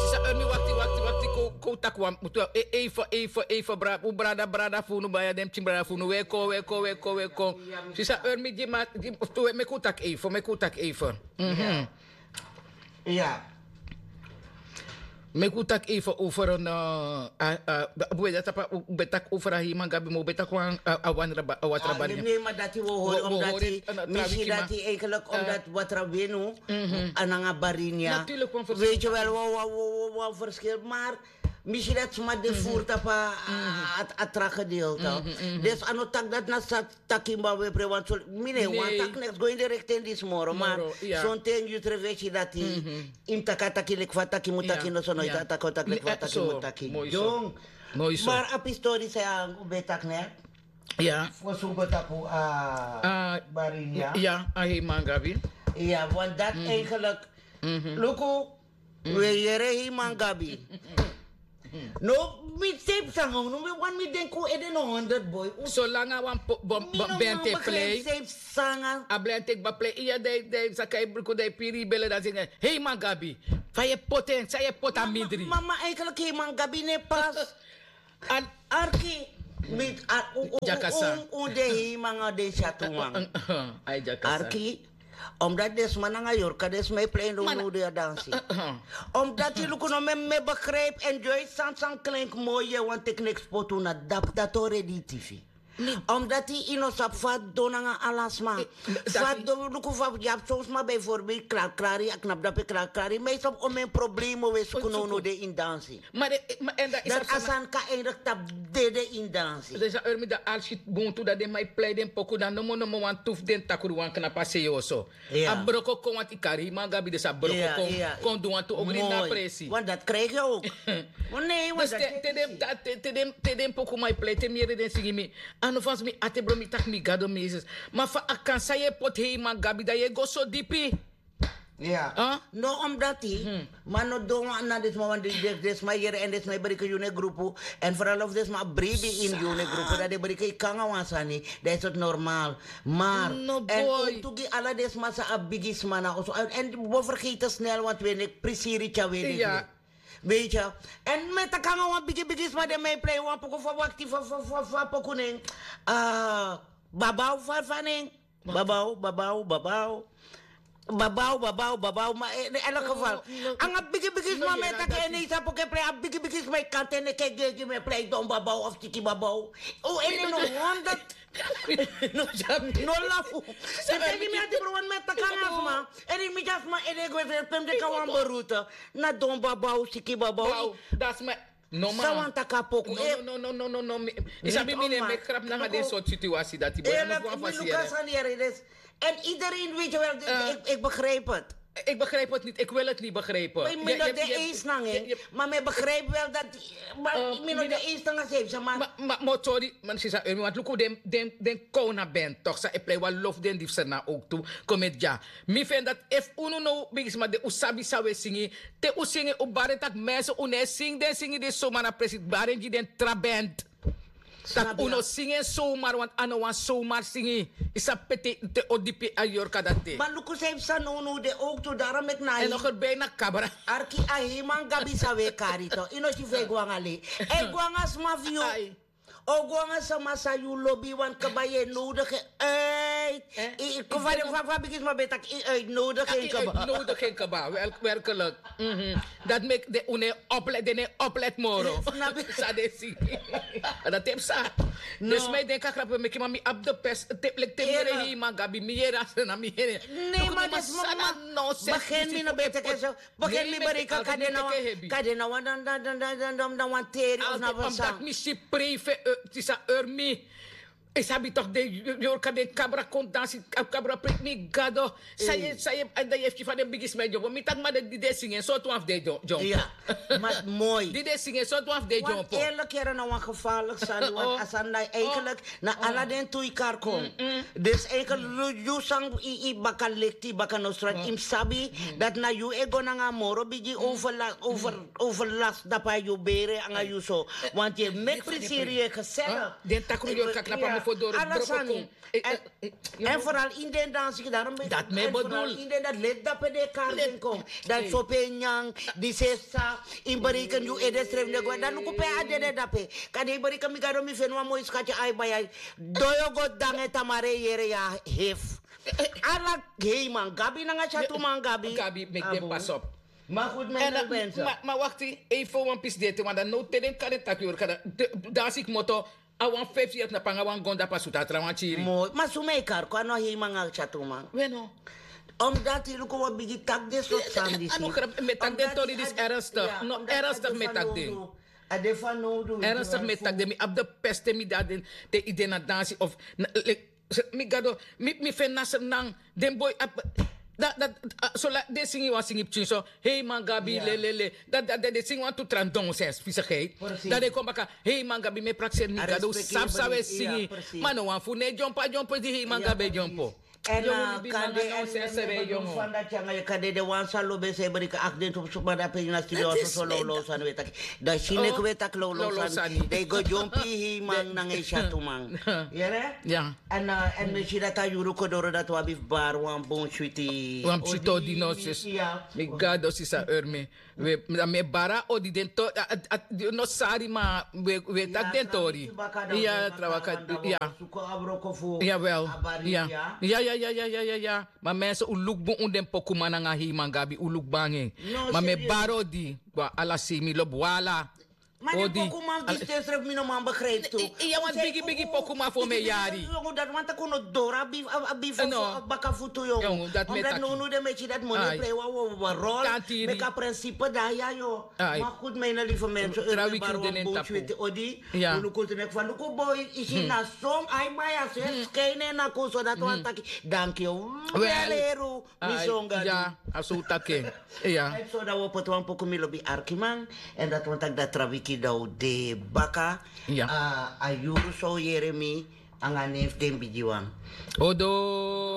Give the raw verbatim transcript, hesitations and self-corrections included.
Sisa, eh, mi wakti, wakti, wakti, ko, ko taki wan, mutu, eh, even, even, even, bra-, u brada, brada fu unu, baya den pikin brada fu unu, we kon, we kon, we kon, we kon. Sisa, eh, mi di ma, di, tu, eh, meki u taki even, meki u taki even. Mhm. Ya. Meki u taki even over een, eh, eh, eh, we dati, u ben taki over a heiman gabi, ma u ben taki wan, eh, a wan raba-, a watra bari. Nee, ma dati we hori, omdat die, mi si dati eigenlijk, omdat watra wenu, ananga barinia. Natuurlijk, wan verschil. Weet je wel, wan, wan, wan, wan, wan verschil, maar mi si dati sma de voert op a, a, a tra gedeelte. Dus ano tak dat na sat taki mba we pre wan so, mi ne wan tak neks go in de richting di smoro, maar zo'n ten yu trevesi dati, im taka taki lik fa taki mu taki no so no ita taka taki lik fa taki mu taki. Dong. Maar a pistori sa ya u ben taki ne. Ja. Fosi u go tapu a barinia. Ja, a heiman gabi. Ja, want dat eigenlijk, luku, we yere heiman gabi. No, mi tape sanga, no, mi wan mi denki u ede no honderd boy. Solanga wan ben te play. Tape sanga. A ben te ba play. Iya, dai, dai, sa kai bruku dai piri bele dan zingen. Heiman gabi. Fa yu poti en, san yu poti a mindri. Mama, eigenlijk heiman gabi ne pas. An arki, mi, a, u, u, u, u, u de hei manga de shatu man. Ai, jakasa. Arki, omdat den sma nanga yorka, den sma e play no no de a dansi. Omdat yu luku no me, me begrijp, enjoy san san klink mooi, ye wan tek niks potu na dap, dat already T V. Omdat yu no sabi fa don nanga ala sma. Fa don luku fa yu abi son sma bijvoorbeeld, klaar, klaar, yu a knap dape, klaar, klaar. Yu mei sabi o men problemo we suku no no de in dansi. Ma de, ma, en dan is dat a san kan eindig tapu dede in dansi. Dus a urmi dan alsi buntu dat den mai plei den poku dan nomo nomo wan tuf den takru wan knapa seyoso. A broko kon want i kari man gabi dus a broko kon, kon du want tu ogri na presi. Want dat krijg je ook. Nee, want dus te den poku mai plei te mi yere den sigi mi. Ano fans mi ate bro mi tak mi gado mi yesus. Ma fa a kan sa ye pot hei man gabi dan ye go so dipi. Ya. No, omdat yu man no don wan na den sma wan di den sma yere en den sma e breken yu ne grupu. En vooral of den sma bribi in yu ne grupu dan den breken yu kanga wan sani. Dan is het normaal. Maar en ook tu gi ala den sma sa a bigi sma na oso en bo vergeten snel want we ne prisiri tya we ne. Weet je. En met de kanga wan bigi bigi sma den mij plei wan poku fa wakti fa fa fa fa poku nen. Babau fa fa nen. Babau, babau, babau. Babau, babau, babau, ma in elk geval. Anga bigi bigi sma me taki en isa poke play a bigi bigi sma kante ne ke gegi me play don babau of tiki babau. O en no honderd. No lafu. Se teki mi ati bro wan me taki anga sma. En mi just ma en ego se pem de ka wan beroute. Na don babau, tiki babau. That's my No man. Sawan taka poku. No no no no no no. Isabi mi ne mek krap nanga den sort situasi dati boy. Anu fu wan fasi yere. En iedereen weet je wel, ik begrijp het. Ik begrijp het niet, ik wil het niet begrijpen. Maar ik begrijp wel dat, maar ik ben nog de eens dan als hij maar maar maar sorry, maar sisa, want luku den den den kona ben toch sa e play wan lof den difser na ook toe. Kom met ja. Mi fen dat efu unu no bigisma de u sabi san we singi. Te u singi u bari tak' mense u no e singi den singi di somar na presi bari en gi den tra band. Tak' u no singi en somar want a no wan somar singi. Yu sabi pe te o dipi a yorka dati. Ma luku san yu psa nownow de owktu daro meki na en no gerbi na kabra. Arki a heiman gabi san we kari to yu no si fu e go anga lei. E go anga sma fu yu. O go anga sama san yu lobi wan kaba yu e nodigi en uit. Yu kon fa den fa fa bigi sma ben taki yu e nodigi en kaba. Nodigi en kaba werkelik. Dati meki den un no e oplet den no e oplet moro. San den si. Dati e psa. Dus mi e denki a krapu e meki ma mi abi de pers te mi yere heiman gabi mi yere a sena mi yere. Nei ma den sma ma ma gen mi no ben teke so. Begin mi bereiken kan den na wan kan den na wan dan dan dan dan dan dan wan teri of na wan san. Omdat mi si prijfe tisa urmi. Isabi toch de yorka den kabra kon dansi kabra prik mi gado. Saye saye en dan yefki van den bigi smai jombo mi tak ma de di de singen so tu af de jombo. Ja. Maar mooi di de singen so tu af de jombo. Eerlijk yere na wan gevaarlijk sani want asan na eigenlijk na ala den tu ikar kon. Dus eigenlijk yu sang i baka lekti baka nostra im sabi. Dat na yu e go nanga moro bigi overlast dapa yu bere anga yu so. Want yu e meki prisiri yu e gezellig. Den takru yu o kaki na pa mi Ala sani. En foral ini den dansi ki darom ben dati mi e bedul. Ini den dati leti dape den kari den kon. Dati sope nyan di sesa. Ini bereken yu ede srefi ne go dan luku pe a dede dape. Kadi ini bereken mi gado mi feni wan moi skati ai bai ai. Doyo go dange tamare yere ya hef. Ala heiman gabi nanga syatuman gabi. Gabi meki den pas op. Ma goed mi na ben so. Ma wakti ei fo wan pisi dete wan dan no te den kari taki ori kada. Dansi kmoto. A wan feifi yeri na panga wan gonda pasuta a tra wan kiri. Ma suma e kari kon a no heiman a tyatuman. We no. Omdat yu luku wan bigi taki den sort sani disi. A no grap mi e taki den tori disi ernstig. No ernstig mi e taki den. A de fanowdu. Ernstig mi e taki den mi abi de peste mi de a den te yu de na dansi of. Mi gado mi feni na srnan. Den boi abi dati dati. Solati den singi wan singi pikin so. Hei man gabi lelele. Dati dati den singi wantu tra nonsens fisikheid. Dan den kon baka. Hei man gabi mi e prakseri mi gado sabi san wi e singi. Ma no wan fu no e dyompo a dyompo di hei man gabi e dyompo. Èn a kande èn mi e begi fu fan dati anga yu kande den wan san lobi e san e briki akti den tu suma dape ini a studio a soso lawlaw sani wi e taki. Dan si neki wi e taki lawlaw sani dan yu go dyompo yu hei man nanga yu syatuman. Yere. Èn mi e si dati a yuru kon doro dati wi abi fu bari wan bun switi. Wan psito di no sisi. Mi gado sisi a ori mi. Dan mi e bari a odi den tori. No sari ma wi e taki den tori. Iya trawaka. Iya. Yawel. Iya. Ma mense un luku bun un den pokuman nanga hei man gabi un luku bun nanga en. Ma mi e bari odi. Ala sei mi lobi wala. Ma den pokuman fu disi ten srefi mi no man begrijp tu. Iya wan bigi bigi pokuman fu mi e yari. Dati wan taki un no doro a bifu a baka futu yongu. Dati nownu den meki dati moni e plei wan wowo wan rol. Meki a prinsipe dan ya yo. Ma goed mi na live mense un e bari wan bun switi odi. Un luku tu neki fa luku boi isi na son ai bai a so e skai na en naku so dati wan taki. Danki yu. Wel heru. Mi son gadu. A so un taki en. Èn so dan wi o poti wan poku mi lobi arkiman. Èn dati wan taki dati tra wiki dan un de baka. A yuru so yere mi anga nen fu den bigiwan. Odo.